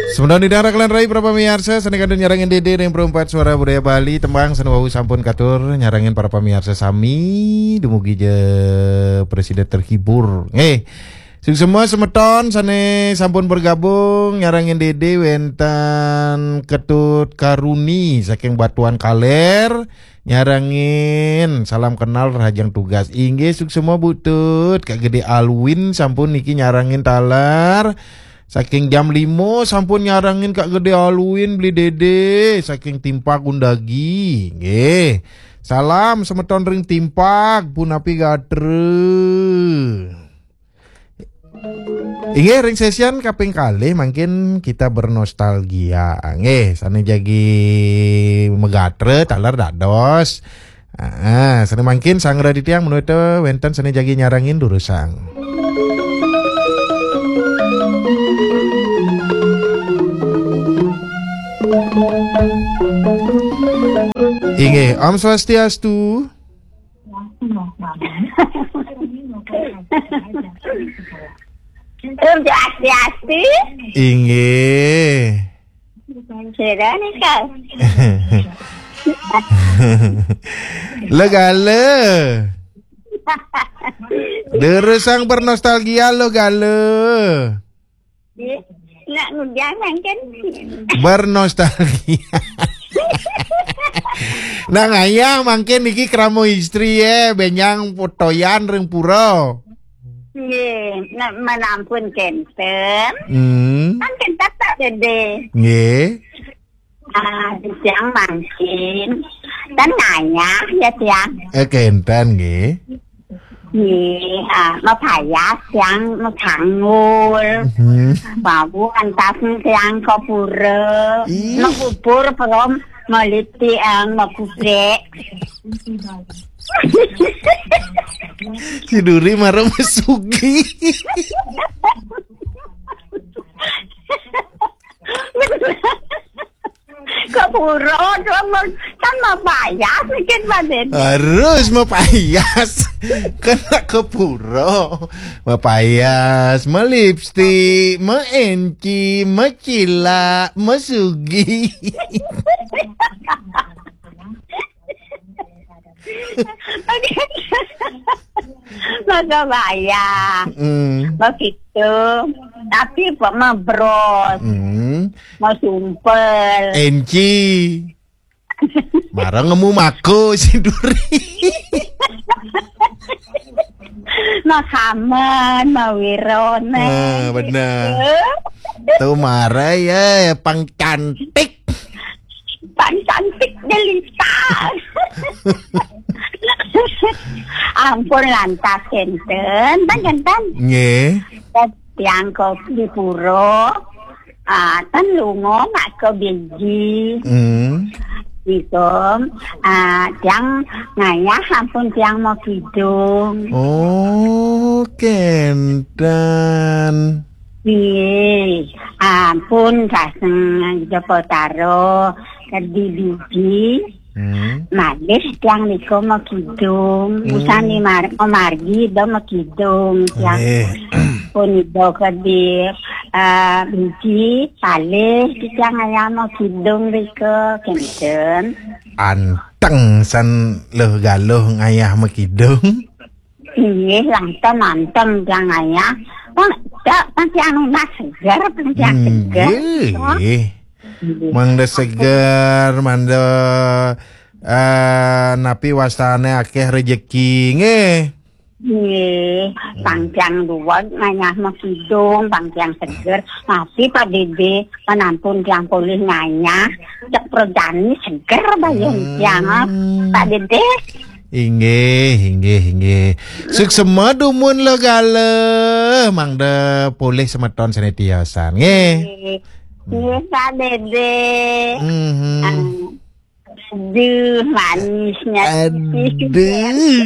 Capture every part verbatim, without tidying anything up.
Semeton ida rakelan rai para pamiarsa, sané kantun nyarengin Dédé ring Perempat Suara Budaya Bali, tembang sané wau sampun katur nyarengin para pamiarsa sami, dumugi ja prasida terhibur. Nggih. Suksma semeton sané sampun bergabung nyarengin Dédé, wénten Ketut Karuni saking Batuan Kaler, nyarengin salam kenal rahajeng tugas. Inggih, suksma Bu Tut, Kak Gedé Alwin sampun niki nyarengin taler. Saking jam lima sampun nyarengin Kak Gedé Alwin, Beli Dédé, saking Timpak Undagi. Nggih. Salam semeton ring Timpak, punapi gatra. Inggih, ring session kaping kalih mangkin kita bernostalgia. Nggih, sané jagi magatra taler dados. Ah, sané mangkin Sang Raditya menawi wénten sané jagi nyarengin durusang. Inggih, Om Swastiastu. Om Swastiastu. Inggih. Sira nika. Lo gala. Durusang bernostalgia lo gala. Nak ngujang mangkin. Bernostalgia. Nah, ngayah mangkin niki krama istri ya, benjang potoyan ring pura. Nggih, nak menampun kenten. Hmm. Kan kenten tak gede. Nggih. Ah, tiang mangkin. Kan ngayah ya tiang. Eh, kenten nggih. Nggih, ah, mapayas tiang makanggul. Mhm. Bau antas tiang ka pura. Ih. Makubur prom maliti ang makubek. Si Duri marah masugi. Ka pura, kan mapayas, mungkin, Pak Dédé. Harus mapayas. Kena ke pura. Mapayas, malipstik, maenci, macilak, masugi. Maka bayar. Hmm. Begitu. Tapi apa mabros. Hmm. Mau sumpel. Enci. Barang nemu mako si Duri. Makaman, mawirone. Ah, benar. Tuh marah ya, pang cantik. Pang cantik jelita. Ampun lantas kenten, pan kenten. Nggih. Tiang ka di pura, ah, ten lunga nak ke biji. Hmm. Niku, ah, tiang ngayah ampun tiang mau kidung. Oh, kenten. Nggih, ampun kaseng Joko Taro, kedi biji. Hmm. Malih tiang niku mau kidung, hmm, usan ni mar-, mau margi do mau kidung tiang. Nggih. Pun do kedi, eh, biji, palih tiang ayam mau kidung rika, kenten. Anteng san leh galuh ngayah mau kidung. Inggih, langkung manteng tiang ayah. Pang, tak, pang tiang nunas seger, pang tiang seger. Nggih. Mangda seger, mangda, eh, napi wastane akeh rejeki, nggih. Nggih, pang tiang duweg ngayah makidung, pang tiang seger. Tapi Pak Dede, menampun tiang polih ngayah, cek prajani seger bayun tiang, ah. Hmm. Pak Dede. Inggih, inggih, inggih. Suksema dumun lo gala, mangda polih semeton sane tiosan, nggih. Nggih, nggih, Pak Dede. Mhm. Ah, aduh, manisnya. Aduh.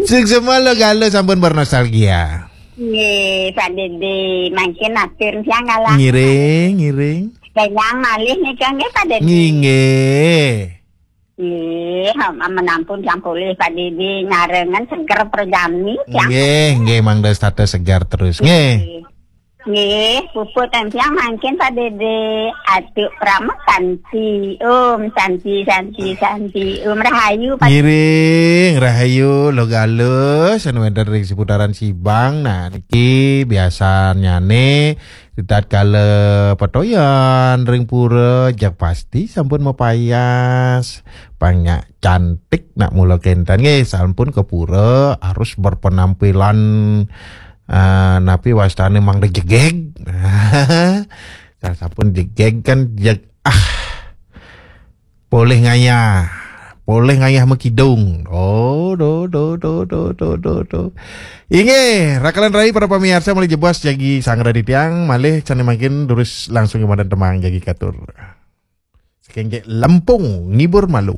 Suksema lo gala sampun bernostalgia. Nggih, Pak Dede, mangkin atur siang kalah. Ngiring, ngiring. Kenyang malih nika nggih, Pak Dede. Nggih, nggih. Nggih, menampun tiang polih Pak Dede nyarengan seger perjani tiang. Nggih, nggih, mangda setata segar terus. Nggih. Nggih, puput tiang mangkin Pak Dede. Atuk Prama Santi. Om Santi, Santi, Santi. Om Rahayu Pak. Ngiring Rahayu, Logalus anu wénten ring seputaran Sibang. Nah, niki biasanyane ritatkala petoyan ring pura, jak pasti sampun mapayas. Panyak cantik nak mula kenten nggih, sampun ke pura harus berpenampilan, eh, napi wastane mangda jegeg. Sampun jegeg kan jeg ah. Polih ngayah. Polih ngayah makidung. Oh, do do do do do do do. Inggih, rakalan rai para pamiarsa malih jebos jagi sangra titiang, malih sane mangkin durus langsung kemadan temang jagi katur. Saking Lempung ngibur malu.